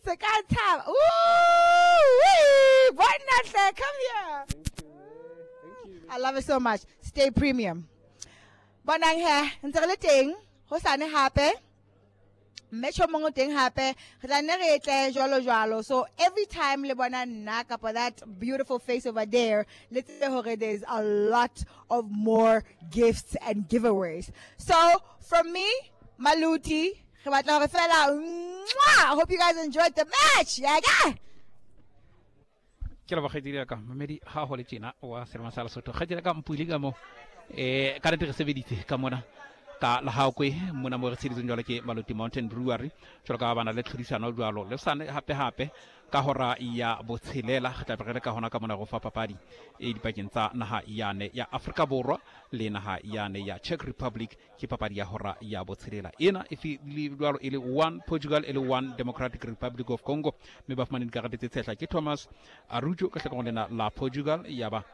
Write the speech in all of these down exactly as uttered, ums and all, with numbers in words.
Se ka thaba. Ooh, bona hle, come here. Thank you, man. Thank you. I love it so much. Stay premium. Bonang he, ntse re le teng, hosane hape. Mme tjhomong o teng hape, re tla nne re tle jwalo jwalo. So every time le bona nna kapa that beautiful face over there, le tsebe hore there's a lot of more gifts and giveaways. So from me, Maluti, re batla hore fela, mwah! I hope you guys enjoyed the match. Yeah, yeah. Ke leboga kgaitsedi ya ka, mamedi ha ho le tjena wa Selema sa Lesotho. Kgaitsedi ya ka Mpule ka mo, eh, ka nnete re sebeditse ka mona ka Lehakoe mona mo re tsheditseng jwalo ke Maluti Mountain Brewery, jwalo ka ba na le tlhodisano jwalo. Le sane hape hape ka hora ya botshelela re tla be re le ka hona ka mona go fa papadi e dipakeng tsa naha yane ya Afrika Borwa le naha yane ya Czech Republic. Ke papadi ya hora ya botshelela ena e fi le jwalo e le one Portugal e le one Democratic Republic of Congo, mme ba fumane dikarete tse tshehla ke Thomas Arujo ka hlakoreng lena la Portugal, ya ba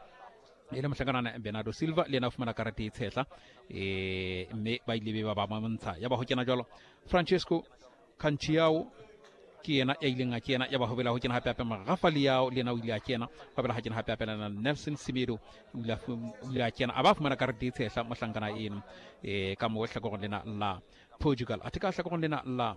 e le mohlankana Bernardo Silva le yena o fumana karete e tshehla, eh, mme ba ile be ba ba montsha. Ya ba ho kena jwalo Francesco Canciao ke yena ya ileng a kena, ya ba ho bela ho kena hape hape Rafa Leao le yena o ile a kena, ho bela ha kena hape hape lena Nelson Semedo o ile a fu-, o ile a kena, a ba fumana karete e tshehla mohlankana eno, eh, ka mo hlakoreng lena la Portugal. Athe ka hlakoreng lena la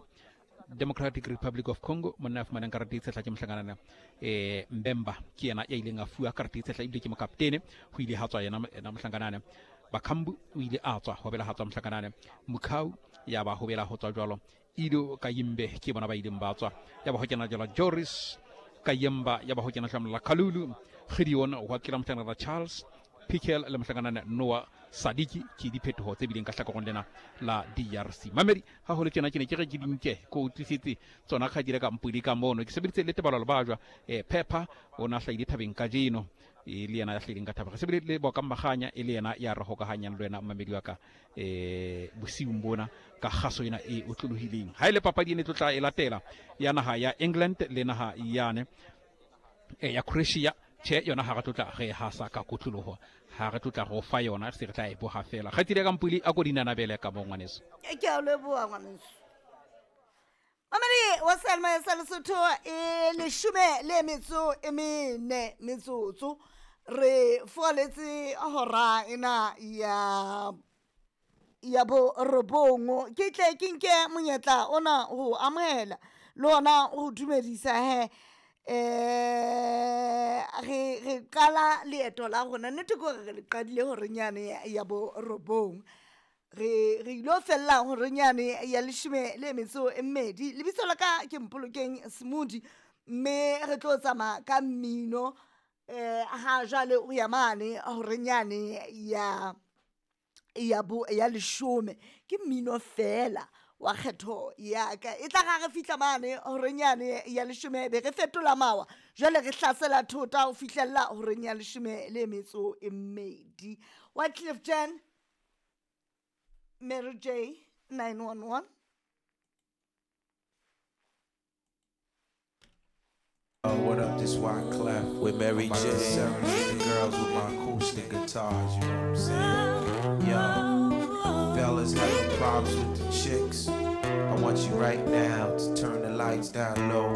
Democratic Republic of Congo monna ya fumanang karete e tshehla ke mohlankana, eh, Mbemba ke yena ya ileng a fuwa karete e tshehla ebile ke mokaptene. Ho ile ha tswa yena, yena mohlankana Bakambu o ile a tswa, ho bela ha tswa mohlankana Mukau, ya ba ho bela ho tswa jwalo Ido Kayimbe ke bona ba ileng ba tswa, ya ba ho kena jwalo Joris Kayemba, ya ba ho kena jwalo Kalulu Gideon, ho kena mohlankana Charles Piquel le mohlankana Noah Sadiki. Ke diphetoho tse bileng ka hlakoreng lena la D R C. Mamedi ha ho le tjena ke ne ke re ke di nke ko utlwisitse tsona kgadile ka Mpudi ka mono. Ke sebeditse le Tebalo Lebajwa, eh, Pepper o na hlahile thabeng kajeno, e le yena ya hlahileng ka thaba. Re sebeditse le Boka Maganya e le yena ya re hokahanyang le wena mamedi wa ka, eh, bosiung bona ka kgaso ena e otlolohileng. Ha e le papadi e ne tlo tla e latela ya naha ya England le naha yane, eh, ya Croatia, tjhe yona ha re tlotla re hasa ka kotloloho, ha re tlotla go fa yona se re tla e boha fela. Kgaitsedi ya ka Mpule, a ko dinanabele ka mo ngwaneso. Ke a o leboha ngwaneso. Mamedi wa Selma ya sa Lesotho e leshome le metso e mene metsotso re foletse hora ena ya ya bo robong. Ke tle ke nke monyetla ona ho amohela le ona ho dumedisa he. Eh, re, re qala leeto la rona. Nnete ke hore re le qadile hore nyane ya, ya bo robong. Re, re ilo fella hore nyane ya leshome le metso e mmedi. Lebitso la ka ke Mpolokeng Smoothie, mme re tlo tsamaya ka mmino, eh, ha jwale o ya mane hore nyane ya, ya bo, ya leshome. Ke mmino fela wa kgetho ya ka. E tla ra re fihla mane horeng yane ya leshome, be re fetola mawa. Jwale re hlasela thota ho fihlella horeng ya leshome le metso e mmedi. Wyclef Jean, Mary J, nine one one. Oh, what up, this Wyclef with Mary I'm about J. to serenade the girls with my acoustic guitars, you know what I'm saying? Yo, fellas having problems with the chicks, I want you right now to turn the lights down low.